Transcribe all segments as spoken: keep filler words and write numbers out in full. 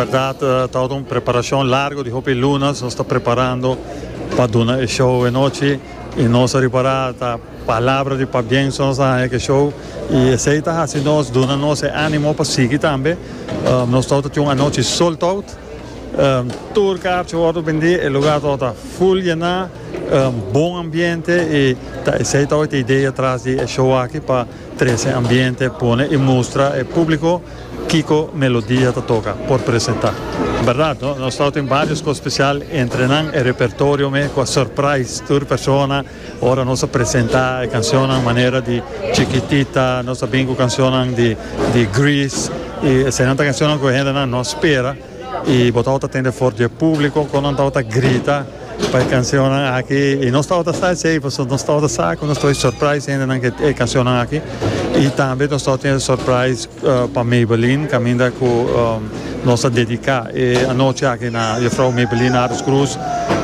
Berdad, ta un preparacion largo di hopi luna, nos ta preparando pa duna e show anochi y nos a prepara ta palabra di pabien nos a e show y esey ta haciendo nos, duna nos animo pa sigui tambe. Um, nos ta tin un anochi sold out. Um, tur kaarchi a wordo bendi, e lugar ta full yena, um, bon ambiente y ta, esey ta e idea tras di e show aki pa trece ambiente, pone y mustra e publico kico Melodia ta toca por presenta. Berdad, no? Nos tin varios cos special, entre nan e repertorio mes, cu surprise tur persona, ora nos a presenta e cancion manera di Chiquitita, nos a bin cu cancion di, di Grease, y esey ta cancion cu hende no spera, y bo ta tende for di publico, cu nan ta grita pa e cancion aki, y nos tabata sa esey, nos tabata sa, cu nos ta surprise ainda na e cancion aki, y tambe nos tabatin surprise uh, pa Maybelline, caminda cu um, nos a dedica e anochi aki na juffrouw Maybelline Ares Cruz,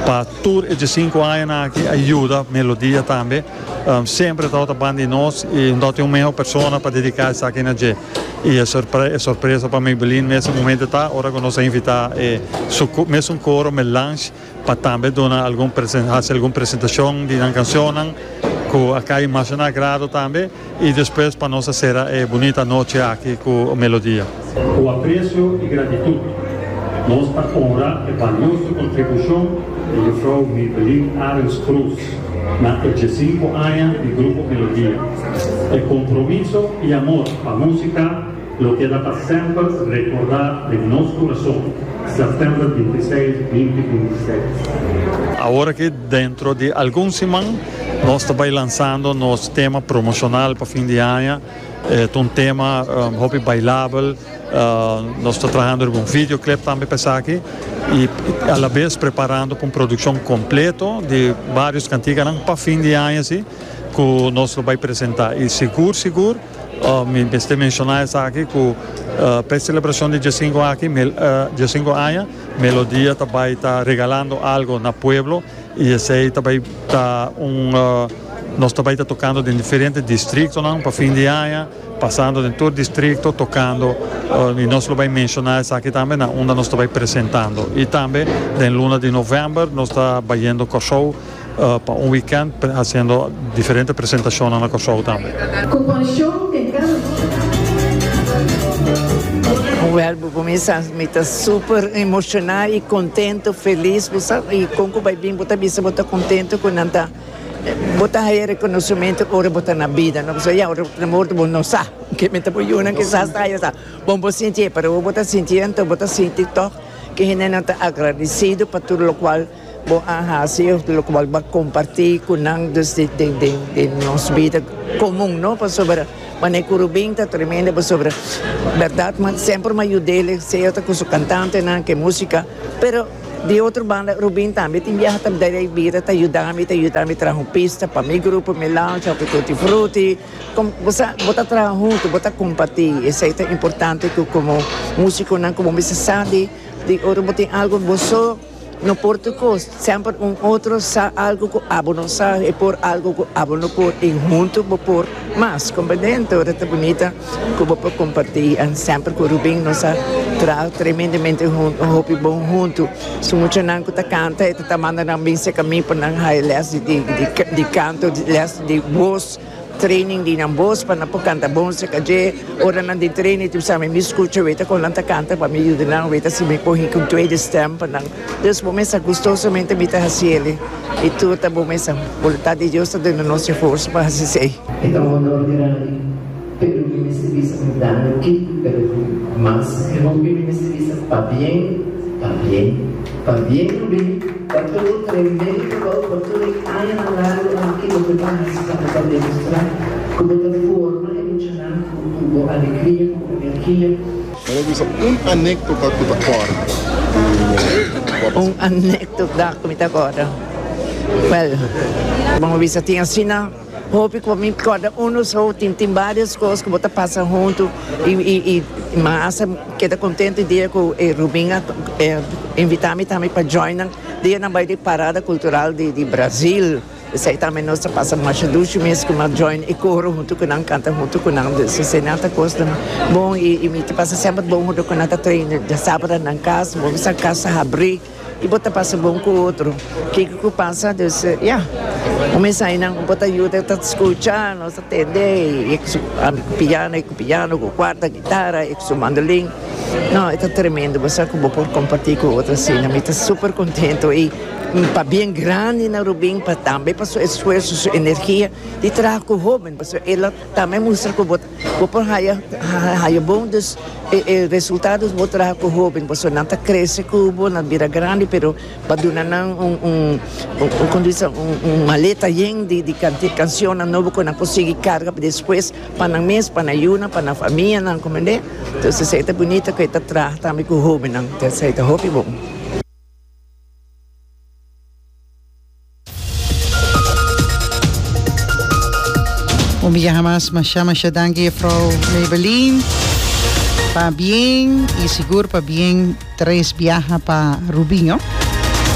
pa tur e cinco aña aki, a yuda Melodia tambe, um, semper ta banda di nos y no tin un miho persona pa dedica esaki na dje. Y e sorpre e sorpresa pa Maybelline na e momento ta, ora cu nos a invita eh, su, mesun coro Melange pa tambe duna algun haci algun presentacion di cancion cu a cay masha na agrado tambe y despues pa nos sera e bunita anochi aki cu Melodia. Cu aprecio y gratitud, nos ta honra e valioso contribucion di juffrouw Maybelline Arends Cruz na diescinco aña di Grupo Melodia. E compromiso y amor pa musica lo keda pa semper recorda den nos curason. September bintiseis, dos mil bintiseis. Awor cu dentro di algun siman nos ta lansando nos tema promocional pa fin di aña. E un tema um, hopi bailabel. Uh, nos ta trahando un videoclip tambe pa esaki y a la vez preparando pa un produccion completo di varios cantica pa fin di aña asina, cu nos ta bay presenta. Y sigur, sigur, uh, mi mester menciona esaki cu uh, pa e celebracion di diescinco aki, mel, uh, diescinco aña, Melodia tambe ta regalando algo na pueblo y esey tambe ta un uh, nos tambe ta tocando den diferente distritonan pa fin di aña, pasando den tur distrito, tocando, uh, y nos ta bay menciona esaki tambe, na unda nos ta presentando. Y tambe, den luna di november, nos ta bayendo Corsou uh, pa un weekend, haciendo diferente presentacion na Corsou tambe. Compasion den cada Wel, cuminsa, mi ta super emociona y contento, feliz, y con cu bay bin, bo ta bisa, bo ta contento cu nan ta, bo ta haya reconocimento ora bo ta na bida, no? So, ya, ora bo morto, bo no sa, cu mi ta boyuna, cu sa sta, ya sa. Bon, bo sinti, pero bo ta sintiendo, bo ta sinti toch, cu hende nan ta agradecido pa tur locual bo a haci, locual bo a comparti cu nan dus di, di, di, di nos bida comun, no? Pasobra, mane cu Rubin ta tremendo, pasobra, berdad, mas semper m'a yud'e, sea cu su cantantenan, cu musica, pero di otro banda, Rubin tambe tin biaha tambe di bida, ta yudando, ta yudando traha un pista pa mi grupo, mi lounge, pa Tutti Frutti, com, bo bo ta traha hunto, bo ta comparti, esey ta importante cu como musiconan, como bo sabi, di ora bo tin algo, bo no por cos, semper un otro sa algo cu abo no sa, y por algo cu abo no por, y hunto bo por mas, comprende? Ora ta bunita, cu bo por comparti, y semper cu Rubin nos a traha tremendamente hunto, hopi bon hunto. Su muchanan cu ta canta, e ta manda nan bin serca mi pa nan haya les di, di, di, di canto, di les di voz, training di nan voz pa nan por canta bon serca dje, ora nan di training tu sabe mi scucha weta con nan ta canta pa mi yuda nan weta si mi por cu tweede stem pa nan. Dus bo mesa gustosamente mi ta haciele y tur ta bo mesa voluntad di Dios ta duna nos forsa pa haci esey. E ta un honor grandi, pero mi mester bisa un danki, pero mas mi mester bisa pabien, pabien, pabien, Rubin, pa tur tremendo, pa tur aña largo aki cu bo a haci pa demostra con ta forma emocionante, cu alegria, cu energia. Mas bisa un anecdota cu ta corda. Un anecdota cu mi ta corda. Well, ban bisa tin asina, hopi cu mi corda uno so, tin tin varios cos cu bo ta pasa hunto y y y mas keda contento dia cu eh, Rubin a eh, invita mi tambe pa join dia nan bay di parada cultural di, di Brasil. Esei tambe nos ta pasa masha dushi mes ku m'a join e koro huntu ku nan, kanta huntu ku nan. Dus esei nan ta kos bon i i mi ta pasa semper bon huntu ku nan ta train djasabra nan kas, bo bisa kas ta habri i bo ta pasa bon ku otro. Kiko ku pasa dus ya, un mes ainan bo ta yuda ta skucha, nos ta tende i ku su ami ku piano, e ku piano, ku kuarta, gitara, e ku su mandolin. No, e ta tremendo, bo sa ku bo por kompartí ku otro asina. Mi ta super kontento i pabien grandi na Rubin pa tambe pa su esfuerso, su energia di traha ku hoben, pasobra el a tambe mustra ku bo bo por haya haya bon dus e e resultados bo traha ku hoben, pasobra nan ta krese ku bo, nan bira grandi, pero pa duna nan un un un kon bisa un un maleta yen di di kansionnan nobo ku nan por sigui karga pa despues pa nan mes, pa nan yunan, pa nan famianan, komprende? Entonces esei ta bunita ku e ta traha tambe ku hobennan, esei ta hopi bon. Un biaha mas masha masha danki juffrouw Maybelline. Pabien y sigur pabien tres biaha pa Rubinho.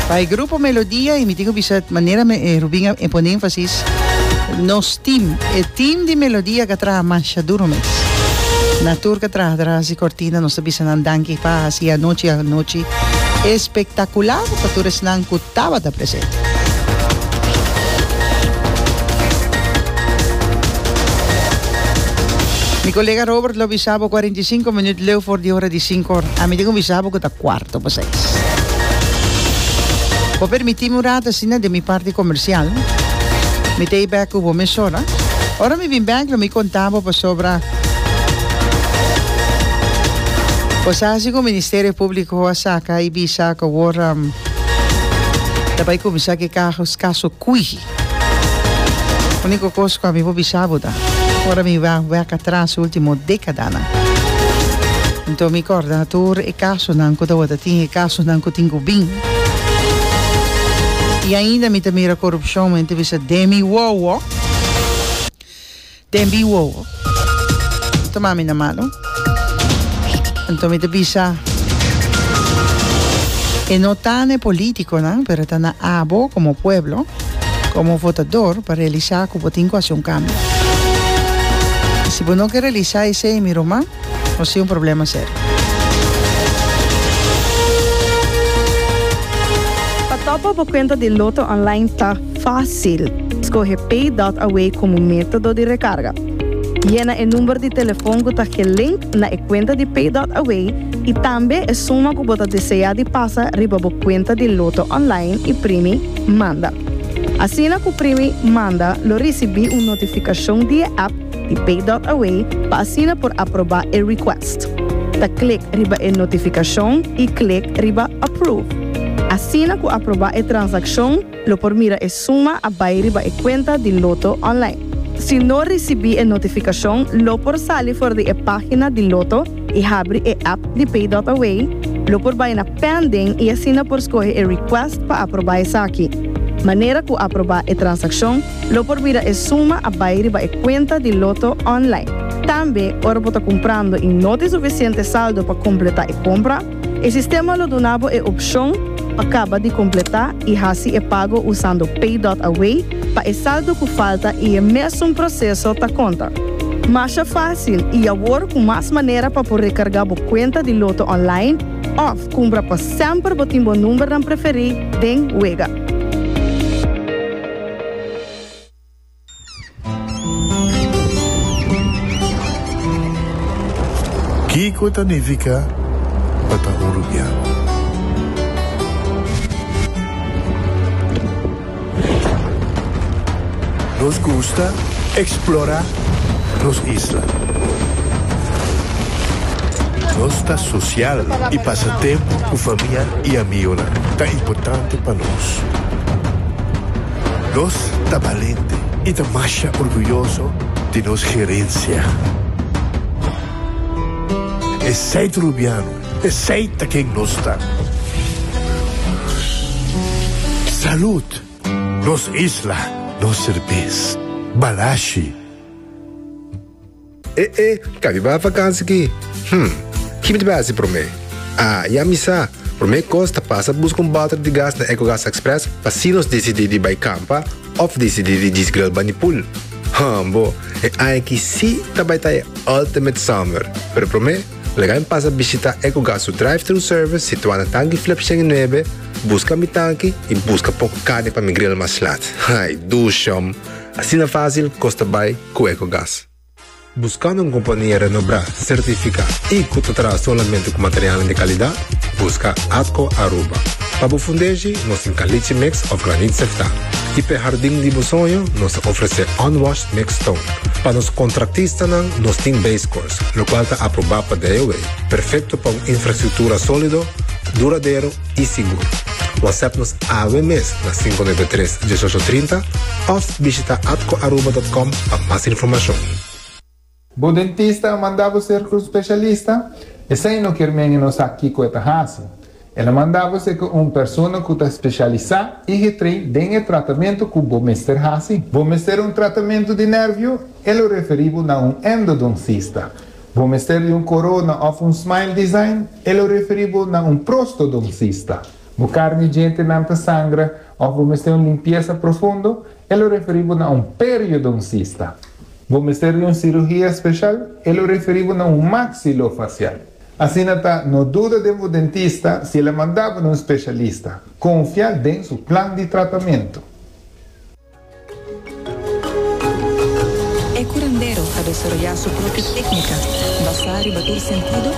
Pa e grupo Melodia y mi tin cu bisa manera Rubin a pone enfasis nos team, e team di Melodia cu a traha masha duro mes. Na tur cu a traha tras di cortina nos ta bisa nan danki pa haci e anochi anochi espectacular pa tur esnan cu tabata presente. Mi colega Robert lo bisa bo cuarenta y cinco minuut leu for di ora di cinco or. Ami tin cu bisa bo cu ta cuarto pa seis. Bo permiti mi un rato asina den mi parti comercial. Mi ta ei bek cu bo mesora. Ora mi bin bek lo mi conta bo pasobra bo sa si cu Ministerio Publico a saca y bisa cu awor ta bay cuminsa cu e caso Cuihi. Unico cos cu ami por bisa bo ta, ora mi wak wek atras e ultimo decadanan, enton mi corda tur e casonan cu tabata tin, e casonan cu tin cu bin. Y ainda mi ta mira corupcion, mi ta bisa den mi wowo, den mi wowo. No tuma mi na malo. Enton mi ta bisa, e no ta na e politiconan, pero ta na abo como pueblo, como votador, pa realisa cu bo tin cu haci un cambio. Y si bo no ke realisa esey, mi ruman, nos tin un problema serio. Pa topa bo cuenta di Lotto Online ta facil. Scoge Pay dot Away como metodo di recarga. Yena e number di telefon cu ta gelink na e cuenta di Pay dot Away y tambe e suma cu bo ta desea di pasa riba bo cuenta di Lotto Online y primi Manda. Asina cu primi Manda lo ricibi un notificacion di e app di Pay dot Away pa asina por aproba e request. Ta click riba e notificacion y click riba Approve. Asina cu aproba e transaccion lo por mira e suma a bay riba e cuenta di Lotto Online. Si no ricibi e notificacion lo por sali for di e pagina di Lotto y habri e app di Pay dot Away, lo por bay na Pending y asina por scoge e request pa aproba esaki. Manera cu aproba e transaccion, lo por mira e suma a bay riba e cuenta di Lotto Online. Tambe, ora bo ta cumprando y no tin suficiente saldo pa completa e compra, e sistema lo duna bo e opcion pa caba di completa y haci e pago usando Pay dot Away pa e saldo cu falta y e mesun proceso ta conta. Masha facil y awor cu mas manera pa por recarga bo cuenta di Lotto Online of cumpra pa semper bo tin bo numbernan preferi den wega. Kiko ta nifica pa ta un Rubiano? Nos gusta explora nos isla. Nos ta social y pasa tempo cu famia y amigonan ta importante pa nos. Nos ta balente y ta masha orguyoso di nos gerencia. Esey ta Rubiano, esey ta ken nos ta. Salud! Nos isla, nos serbes. Balashi. E e, kabi bai vakansi ki? Hm, ki mi ta bai hasi promé? Ah, ya mi sa. Promé kos ta pasa buska un bòter di gas na Ecogas Express pa si nos disidí di bai kampa Of disidí di djis grill band'i pool. Hambo, e aña aki si tambe ta e ultimate summer. Pero promé, laga mi pasa bishitá Ecogas su drive-thru service situá na Tanki Flip nuebe, buska mi tanki i buska poko karni pa mi grill mas lat. Ai, dushi. Asina fásil, kos ta bai ku Ecogas. Buskando un kompania renombrá, sertifiká i ku ta traha solamente ku material di kalidat? Buska Atco Aruba. Pa bo fundeshi, nos tin caliche mix òf graniet seftá. I pa hardin di bo soño, nos ta ofresé unwashed mix stone. Pa nos kontratistanan, nos tin base course, lokual ta aprobá pa D O E. Perfekto pa un infrastruktura sólido, duradero i sigur. WhatsApp nos awe mes na sinku nuebe tres, diesocho trinta òf bishitá atcoaruba punto com pa mas informashon. Bo dentista a manda bo serka un spesialista? Esei no ke men no sa kiko e ta hasi. El a manda bo serka un persona ku ta spesialisá i getrain den tratamentu ku bo mester hasi. Bo mester un tratamentu di nervio? El a referí bo na un endodoncista. Bo mester di un korona òf un smile design? El a referí bo na un prostodoncista. Bo karni djentenan ta sangra òf bo mester un limpiesa profundo? El a referí bo na un periodoncista. Bo mester di un siruhia spesial? El a referí bo na un maxilofacial. Asina ta, no duda di un dentista si el a manda bo na un spesialista. Konfia den su plan di tratamentu. E curandero a desaroyá su propio téknika, basá riba tur sentido.